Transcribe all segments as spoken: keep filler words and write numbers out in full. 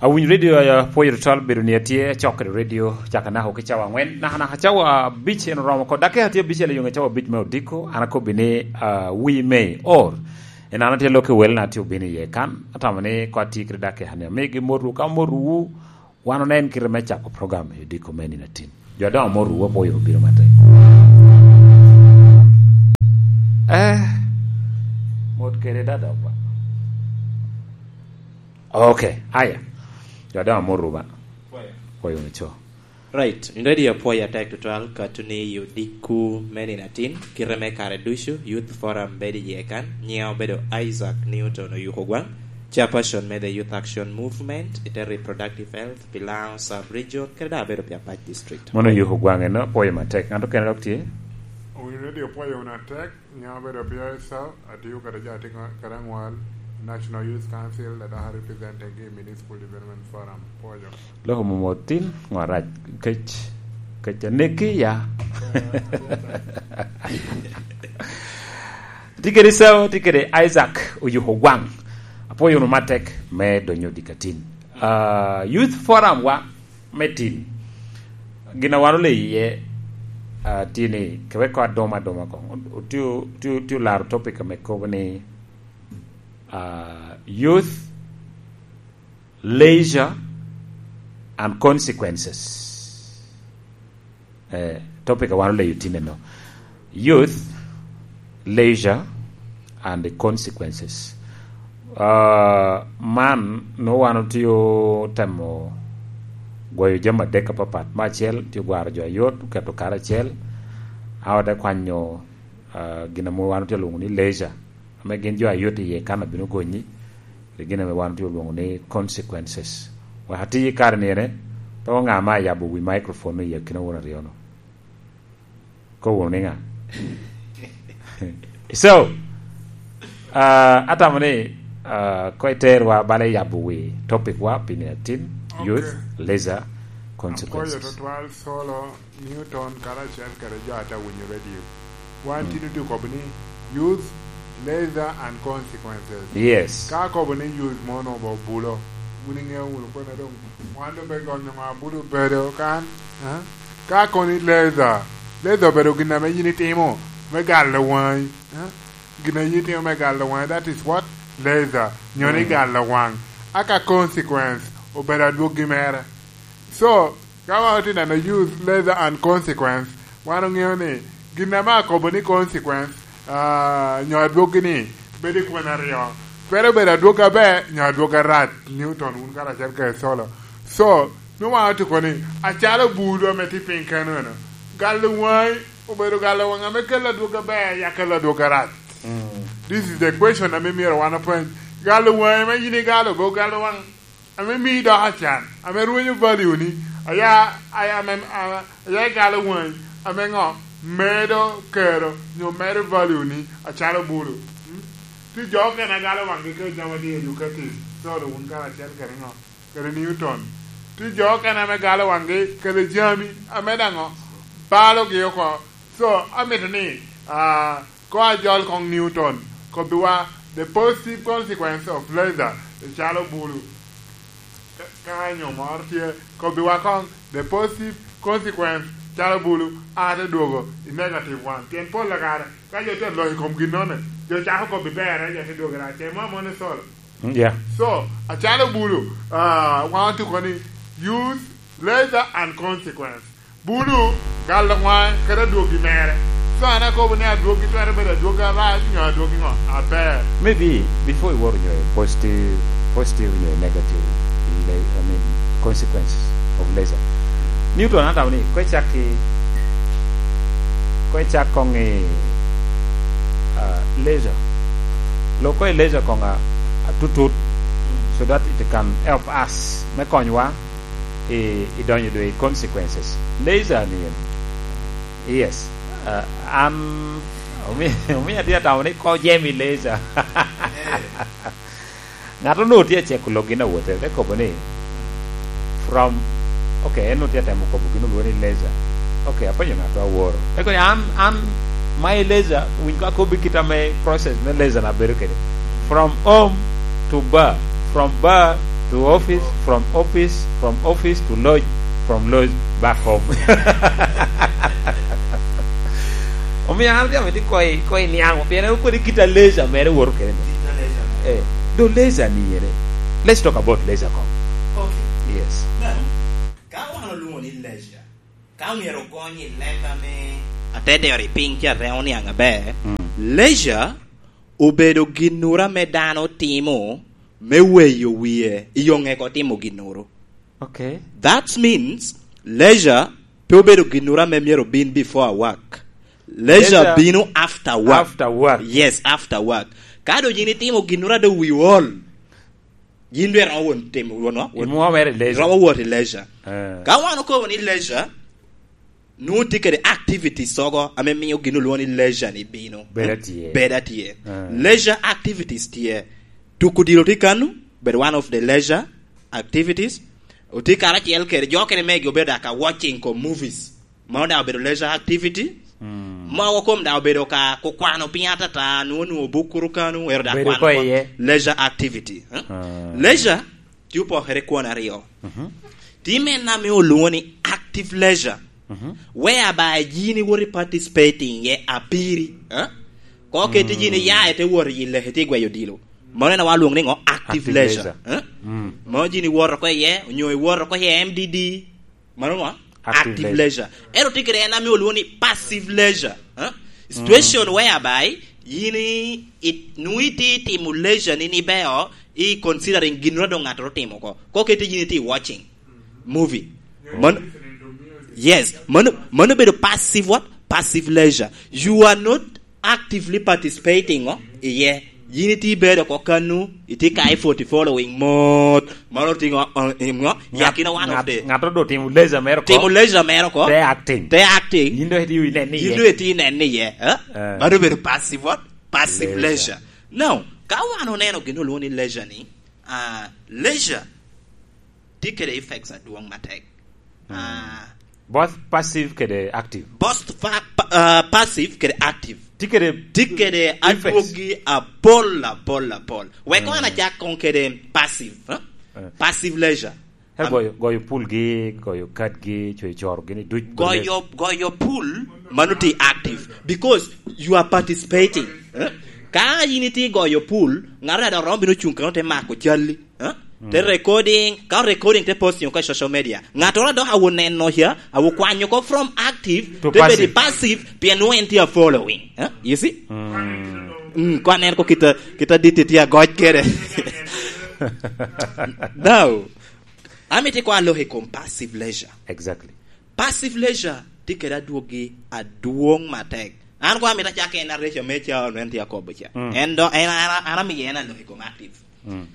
Awinyo redio, a, pwoyo tutwal bedo ni atye acok kede redio caka naka ki cawa angwen, naka naka cawa abic en oromo oko. Dakika tye abicel i yome cawa abic me odiko, an akobbi ni, a, we may or. En an atye lok i wel na tye obino iye kan, atamo ni ko atye kede dakika ni amigi motwu, ka motwu, wan onen kite me cako program i odiko me nino atin. Jo adongo motwu, apwoyo obino matek. Eh, mot kede dada ba. Okay, aya. Jo adongo motwu ba. Pwoyo. Pwoyo ni co. Right, ready, apwoyo atek tutwal, ka tuni i odiko me nino atin, kite me kare ducu, Youth Forum bedo iye kan, nyiŋa obedo Isaac Newton Oyuko Gwaŋ, chairperson me the Youth Action Movement, ite Reproductive Health, pi Lango Sub-Region, kede daŋ abedo pi Apac District. Mono Oyuko Gwaŋ eno, apwoyo matek. Ŋat okene dok tye? Owinyo ready, apwoyo wunu atek. Nyiŋa obedo Pierre Esau, atiyo kede jo atin kede aŋwal, National Youth Council, adok arepresenting gi Municipal Development Forum. Pwoyo. Loko mom otin, ŋo arac, kec, kec aneki ya. Tye kede Esau, tye kede Isaac Oyuko Gwaŋ. Apwoyo wunu matek me donyo dikatin. Ah, Youth Forum wa, me tin. Gin a wan oleyo iye, ah, tye ni, kewek ko adoma adoma koŋ. Otye, otye, otye olaro topic ame kobo ni, ah, youth, leisure and consequences. Eh, topic a wan oleyo tin eno. Youth, leisure, and the consequences. Ah, man, nwoŋo wan otye otemo gwoyo jami adek apapat. Me acel, tye ogwaro jo ayot, oketo kare acel. A ote kwanyo, ah, gin ame wan otye olwoŋo ni leisure, ame gin jo ayot iye kan abino gonyi, kede gin ame wan otye olwoŋo ni consequences. Wek ati i kare ni ene, pe ŋa ame ayabo wi microphone i akina won aryo-nu. Ko wunu ni ŋa? So, ah, atamo ni, ah, ko iterwa bala yabo wi topic wa pi nino atin, okay, youth, leisure, consequences. Apwoyo tutwal Solo, Newton, karacel kede jo ata winyo radio. Wan, mm, tin otye kobo ni youth, leisure and consequences. Yes. Ka kobo ni youth mono ba obulo, wun iŋeo wunu kona doŋ wan doŋ pe gonyo ŋo abulo bedo kan, eh? Ka kono i leather, leather obedo gin ame yin itimo me galo waŋi, eh? Gin ame yin itimo me galo waŋi, that is what? Leather, nyo ni, mm, galo waŋ. A ka consequence obedo adwoggi mere. So, ka wan otye neno use leather and consequence, wan oŋeo ni gin ame akobo ni consequence, ah, nyo adwoggi ni bedo i kwena aryo. Twero bedo adwog aber, nyo adwog arac. Newton, wun karacel kede Solo. So, nwoŋo wan otuko ni, acalo bulu ame tye piny keno eno, galo waŋi obedo galo waŋ ame kelo adwog aber, ya kelo adwog arac. Mm. This is the question ame myero wan openy. Galo waŋi ame yin igalo, be ogalo waŋ ame mii doko acan, ame rwenyo value ni, aya, aya, ame, a-, aya igalo waŋi, ame ŋo? Medo kero, nyo medo value ni, acalo bulu. Mm? Tye jo okene agalo waŋgi kede jami tye educative, Solo, wun karacel kede ŋo? Kede Newton. Tye jo okene ame galo waŋgi kede jami ame daŋ balogi oko. So, amito ni, ah, ko ajol koŋ Newton, kobbiwa the positive consequence of leather, calo bulu. Ka, ka nyo moro tye, kobbiwa koŋ the positive consequence, calo bulu, a te dwogo i negative one. Pien pol kare, ka jo tye aloc i kom ginnone, jo cako kobbi berre, jo te dwogo i rac. Mo amon i Solo. Mm, yeah. So, acalo bulu, ah, wan otuko ni use leather and consequence. Bulu, galo waŋe, kede adwoggi mere. So, an akobo ni adwoggi twero bedo adwoggi arac, nyo adwoggi ŋo? Aber. Maybe, before iwor nyo positive, positive nyo negative, le-, I mean, consequences of leisure. Newton, atamo ni, ko icak ki, ko icak koŋ i, ah, leisure. Lok ko i leisure koŋ a, atutut, so that it can help us, me konywa i, i donyo dwe i consequences. Leisure ni en. Yes. Ah, an, omi-, omiyo atye atamo ni ko jemi leisure. Ŋat onwoŋo tye aceko lok gin awote, te kobo ni, from, okay, en onwoŋo tye atemo kobo gin olwoŋo ni leisure. Okay, apenyo ŋat aworo. Eko ni an, an, my leisure, winy ko akobbi kit ame process me leisure na bedo kede. From home to bar, from bar To office, from office, from office to lodge, from lodge back home. Omio an gamo ti koi, koi niaŋo, pien en kodi kita leisure mere woro kene. Kita leisure. Eh, do leisure ni yere. Let's talk about leisure kom. Okay. Yes. Now, ka wan olwongo ni leisure, ka myero ogony i leb ame ate dero i piny ca reŋo niaŋ aber, mm, leisure obedo ginnoro ame dano timo me weyo wie i oŋeko timo ginnoro. Okay. That means leisure pe obedo ginnoro ame myero bin before work. Leisure, leisure bino after work. After work. Yes, after work. Ka do yin itimo ginnoro a do wi ol, yin dwe romo won timo, won, won, imwomere i leisure. Romo wot i leisure. Eh. Ka wan okobo ni leisure, nwoŋo tye kede activities ogo ame mio gin olwoŋo ni leisure ni bino. Bedo atye. Bedo atye. Eh. Leisure activities tye. Tuko odilo tye kano, bedo one of the leisure activities. Otye karacel kede jo kene megi obedo ka watching kom movies. Mano daŋ obedo leisure activity. Mm. Mogo kom daŋ obedo ka kukwano piny atata, nwoŋo, nwoŋo buk kuru kano, ero daŋ bedo kwano ko iye. Leisure activity, eh? Ah. Leisure tye opokere kwon aryo. Mhm. Tye mene ame olwoŋo ni active leisure, mhm, whereby yin iwot i participating ye apiri, eh? Ko keti yin iya ite wot i leke tye gweyo odilo. Mano en awa lwoŋo ni ŋo? Active leisure. Active leisure. Eh? Mm. Mano yin iwoto ko iye, onyo iwoto ko iye M D D. Mano ŋo? Active leisure. Active leisure. Ento tye kede en ame olwoŋo ni passive leisure. Eh? Situation whereby yin i, i, nwoŋo itye timo leisure ni, ni beo, i considering ginnoro doŋ ŋattoro otimo oko. Ko kete yin itye watching movie. Mano, yes, mano, mano bedo passive what? Passive leisure. You are not actively participating, oh, iye. Yin itye ibedo oko kanu, itye ka i forty following mot. Mano tye ŋo, uh, ŋo? Ŋat, yakina one of ŋat, the ŋat odo timo leisure mere oko. Timo leisure mere oko. Te acting. Te acting. Yin do itye inen ni iye. Yin do itye inen ni iye, eh? Eh. Mano bedo passive what? Passive leisure. Leisure. Now, ka wan oneno gin olwoŋo ni leisure ni, ah, leisure tye kede effects adwoŋ matek. Mm. Ah, both passive kede active. Both fa-, pa-, ah, passive kede active. Tye kede effects. Tye kede adwogi apol, apol, apol. Wek, mm, wan acak koŋ kede passive, eh? Eh. Passive leisure. Ka goyo, goyo pool gi, goyo card gi, coyo coro gini duc. Goyo, goyo pool, mano tye active. Because you are participating. Eh? Ka yin itye goyo pool, ŋato daŋ romo bino cuŋ kano te mako calli. Eh? Mm. Te recording, ka recording te posting oko i social media. Ŋattoro dok awo neno ca, awo kwanyo oko from active, to te bedo passive. Passive, pien nwoŋo en tye a following. Eh? You see? Mm. Mm, kwa nen ko kita, kita dit tye agoc kede. Now, amito kwa lok i kom passive leisure. Exactly. Passive leisure tye kede adwogi adwoŋ matek. An kwa amito acak en areco me ca, ono en tye akobo ca. Mm. En do, en, an, an amiyo en alok i kom active. Mm.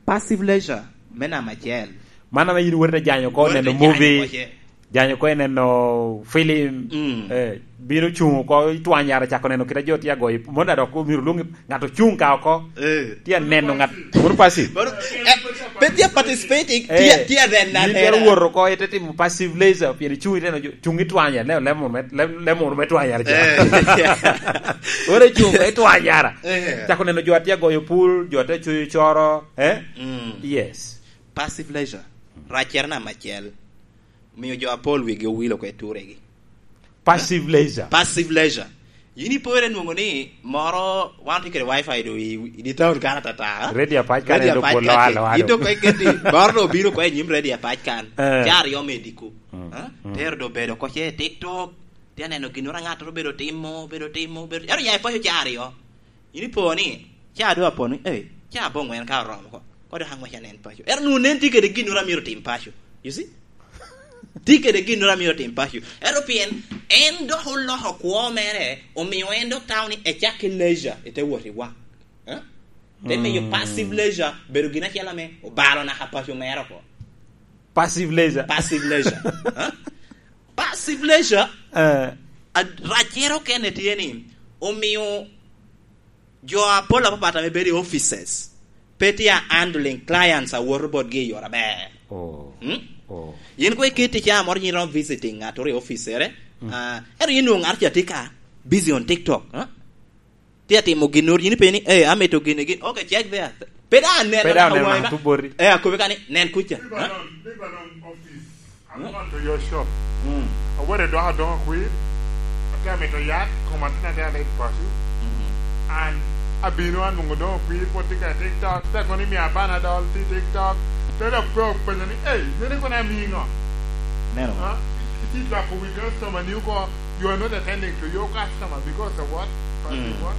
Passive leisure, me namba acel. Man ame yin wot ite janyo oko, wot ite neno movie, janyo oko ce. Janyo oko ineno film, mm, eh, bino cuŋ oko i twany yara cako neno kit a jo tye agoyo. Mono daŋ dok omyero lwoŋi ŋat ocuŋ ka oko. Eh. Tye aneno ŋat, mono passive. Mono, eh, pe tye participating, tye, eh, tye aneno yin anena. Twero wot oko, ite timo passive leisure, pien icuŋ iteno jo, cuŋ i twany yara, lem, lem munu me, lem, lem munu me twany yara ca. Eh. Oro icuŋ oko i twany yara. Eh. Cako neno jo a tye agoyo pool, jo a tye acuyo coro, eh? Mm. Yes. Passive leisure. Raccere namba acel. Omiyo jo apol wigi owil oko i turegi. Passive leisure. Passive leisure. Yin ipore nwoŋo ni moro, wan tye kede wifi do i, i di town kan atata. Radio apac kan. Radio endo apac polo kan alo, alo. Yin dok iketi, moro do obino oko i nyim radio apac kan. Eh. Ca aryo me diko. Mm. Ha? Mm. Tero do bedo oko ce i TikTok. Tye aneno ginnoro ŋattoro obedo timo, obedo timo, obedo, ento ya i paco ca aryo. Yin ipo ni, ca doŋ apo ni, "Ei, ca aboŋwen ka oromo oko. Ko dok aŋwec anen paco." Ento nwoŋo nen tye kede ginnoro a myero otim paco. You see? Tye kede ginnoro a myero otim paco. Ento pien en dok oloko kwo mere, omio en dok tamo ni ecak ki leisure, ete wot i wak. Eh? Te miyo, mm, passive leisure bedo gin acel ame obalo naka paco mere oko. Passive leisure. Passive leisure. Eh? Passive leisure, eh, ad-, raccere okene tye ni, omio jo apol apapat ame bedo i offices pe tye a handling clients a woto botgi i yore aber. Oh. Hmm? Oh. Yin koŋ iketi ca moro yin iromo visiting ŋattoro i officere, mm, ah, ento yin nwoŋo ŋato ca tye ka busy on TikTok, ah? Tye atimo ginnoro, yin ipenyo ni, "Eh, amito gini, gin." Okay, check there. Pe daŋ aneno Pe daŋ aneno awanga. Antu boti. Eh, akobe kani, "Nen kuca." Lebanon, Lebanon office. I'm going to your shop. Mm. Awore dok adoŋo kwir. Ate amito yat, koma tin ate alet paco. Mm. And abino anwoŋo doŋo kwir, pwod tye ka i TikTok. Te kono imio abana dol tye i TikTok. Te dok pe openyo ni, "Ei, nene kono amii ŋo?" Neno. Ah, iti dwako wi customer ni oko, you are not attending to your customer because of what? Because of Mm. what?